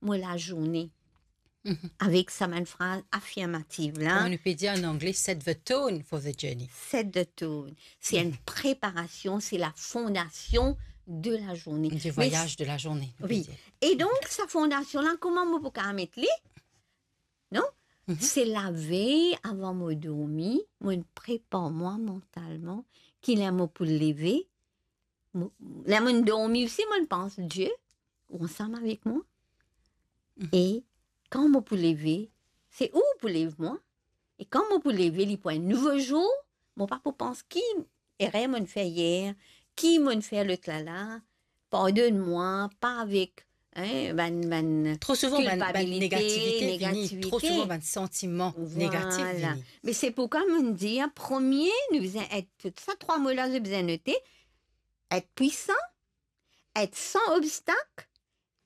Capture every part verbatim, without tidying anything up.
mo lazourne. Mhm. Avek sa bann fraz afirmatif la. Kouma nou pe dir an angle, set the tone for the journey. Set the tone. Se enn preparasion, se la fondasion de la journée. Du voyage de la journée, nou pe dir. E donk, sa fondasion la, kouma mo pou kapav met li? Non? Mhm. Se lavey avan mo dormi, mo prepar mwa mantalman, ki ler mo pou leve, mo, ler mo dormi osi, mo pans Die, ou ansam avek mwa. Mhm. E kan mo pou leve, se ou pou lev mwa. E kan mo pou leve, li pou enn nouvo zour, mo pa pou pans ki erer mo fer yer, ki mo fer lot la la, pardonn mwa, pa avek, hein, bann, bann kilpabilite, negativite. Tro souvan bann, bann negativite vini, tro souvan bann santiman negatif vini. Vwala. Me se poukwa mo dir, premie, nou bizin et, tout sa trwa mo la, nou bizin note, et pwisan, et san obstak,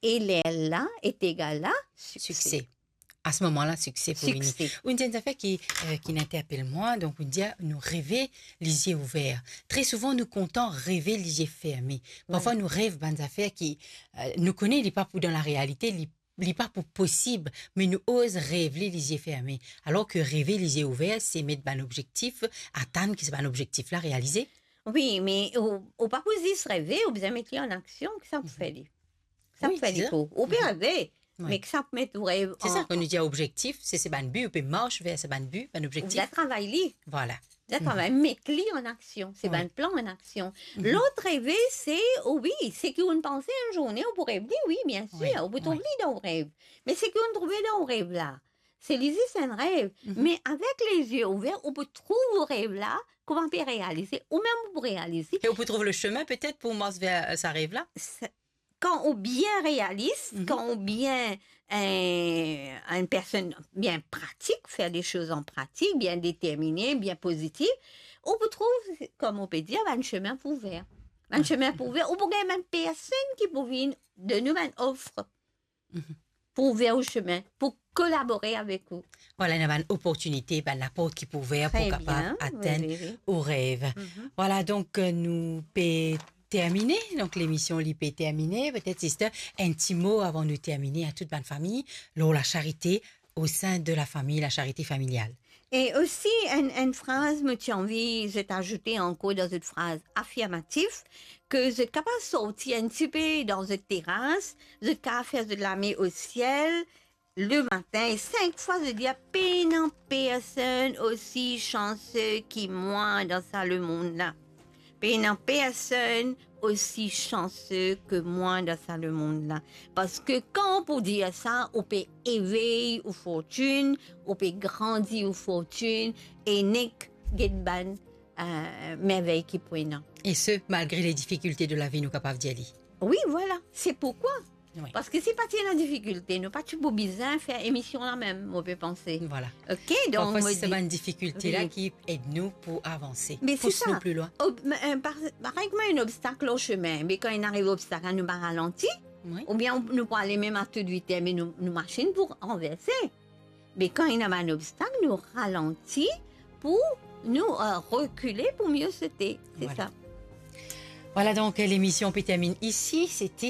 e lerla est égal à succès. Succès. A se moman la, sikse pou vini. Sikse. Ou dir enn zafer ki, euh, ki interpel mwa, donk ou dir nou reve lizie ouver. Tre souvan, nou kontan reve lizie ferme. Parfwa, nou rev bann zafer ki, euh, nou kone li pa pou dan larealite, li, li pa pou posib, me nou oz rev li lizie ferme. Alor ke reve lizie ouver, se met bann obzektif, atann ki sa bann obzektif la realize. Wi, me ou, ou pa pou zis reve, ou bizin met li an aksion, ki sa pou fer li. Sa pou fer li pou. Ou pe reve, me ki sa pou met ou rev an... Se sa, kan nou dir obzektif, se, se bann bi, ou pe mars ver sa bann bi, bann obzektif. Ou bizin travay li. Vwala. Ou bizin travay, met li an aksion, se bann plan an aksion. Lot reve, se, o wi, seki ou panse enn zourne, ou pou rev li, wi, biensir, ou pou trouv li dan ou rev. Me seki ou trouve dan ou rev la, se li zis enn rev. Me avek lizie ouver, ou pou trouv ou rev la, kouma pe realize, ou mem ou pou realize. E ou pou trouv le semin petet pou mars ver, euh, sa rev la. Sa, kan ou bien realis, kan ou bien, euh, enn personn bien pratik, fer de soz an pratik, bien determine, bien pozitif, ou pou trouv, kouma ou pe dir, bann semin pou ouver. Bann semin pou ouver, ou pou gagn bann personn ki pou vinn donn ou bann of pou ouver ou semin, pou kolabore avek ou. Vwala, ena bann oportinite, bann laport ki pou ouver pou kapav atenn ou rev. Vwala, donk, euh, nou pe termine, donk lemision li pe termine. Petet, sister, enn ti mo avan nou termine a tout bann fami, lor lasarite au sein de la famille, la charité familiale. E osi, enn, enn fraz mo ti anvi zot azoute ankor dan zot fraz afirmatif, ke zot kapav sorti enn tipe dan zot teras, zot kapav fer zot lame o siel, le matin, e sink fwa zot dir, pena personn osi sanse ki mwa dan sa lemond la. Pena personn osi sanse ke mwa dan sa lemond la. Parski kan ou pou dir sa, ou pe evey ou fortin, ou pe grandi ou fortin, e nek get bann, euh, mervey ki pou ena. E se, malgre les difficultés de la vie, nou kapav dir li. Wi, vwala. Se poukwa. Wi. Parski si pa ti ena difikilte, nou pa ti pou bizin fer emision la mem, mo pe panse. Vwala. Ok, donk, parfwa, mo se dir bann difikilte la ki ed nou pou avanse, pous nou pli lwin. Me se sa. Ob-, me, euh, par-, parey kouma enn obstak lor semin, me kan inn ariv obstak la, nou pa ralanti, oubien nou pou ale mem a tout viter, me nou, nou masinn pou ranverse. Me kan ena bann obstak, nou ralanti pou nou, euh, rekile pou mie sote. Se sa. Vwala, donk, lemision pe termine isi. Sete,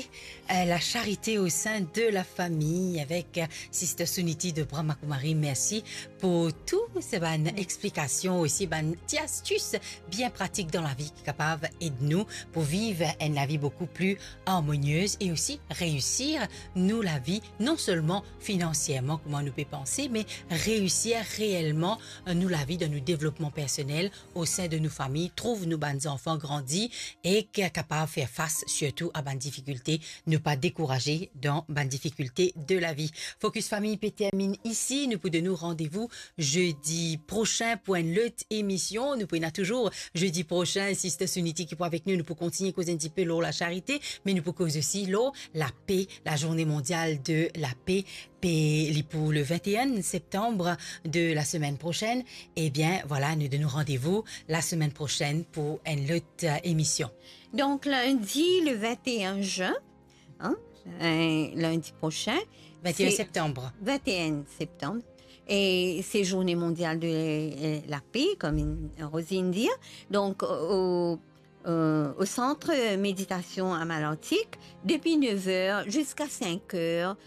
euh, la charité au sein de la famille avek, euh, Sister Suniti de Brahma Kumari. Mersi pou tou se bann explikasion, osi bann ti astis bien pratik dan lavi ki kapav ed nou pou viv enn lavi boukou pli armoniez e osi reisir nou lavi, non selman finansierman, kouma nou pe panse, me reisir reelman, euh, nou lavi dan nou devlopman personel, o sein de nou fami, trouv nou bann zanfan grandi e ki kapav fer fas sirtou a bann difikilte. Nou pa dekouraze dan bann difikilte de lavi. Focus Famille pe termine isi. Nou pou donn nou randevou zedi prosin pou enn lot emision. Nou pou ena touzour zedi prosin, Sister Suniti ki pou avek nou. Nou pou kontigne koz enn tipe lor lasarite, me nou pou koz osi lor lape, la journée mondiale de la paix. Pe li pou le vingt et un septembre de la semaine prochaine. Ebien, vwala, nou donn nou randevou la semaine prochaine pou enn lot, euh, emision. Donk, lindi le vingt et un juin, hein, euh, lindi prosin, vingt et un septembre. Vingt et un septembre. E se Journée mondiale de, euh, la paix, kouma Rosine dir. Donk, o, euh, o sant meditasion a Malantik, depi nef er ziska sink er,